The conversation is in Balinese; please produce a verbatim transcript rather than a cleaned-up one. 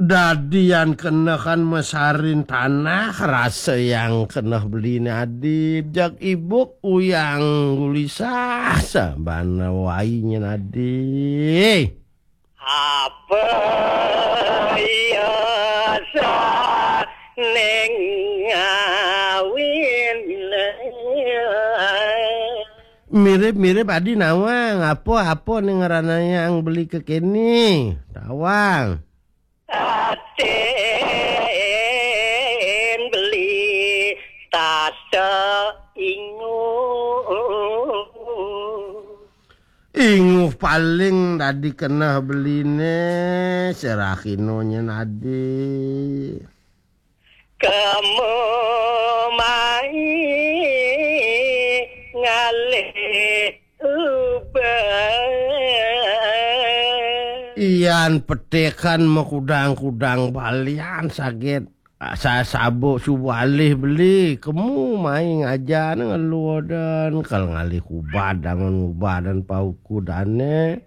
Dadi yan keneh kan mesarin tanah, rasa yang keneh beline adi, jak ibuk uyang gulisah, sabana wai nyen adi. Apa iya sah ning ngawin? Mirip-mirip adi nawang, apa-apa ning ranayang beli kekene. Tawang. Aten beli tata ingu. Inguh paling dadi keneh beline, serahino nyen adi. Kamu mai ngalih ubah. Iyan petekan makudang-kudang balian saget. Sa-, sabuk subuh alih beli, kemu mai ngajan ngeluh dan kal ngalih kubad dangun ngubad dan pauku dane.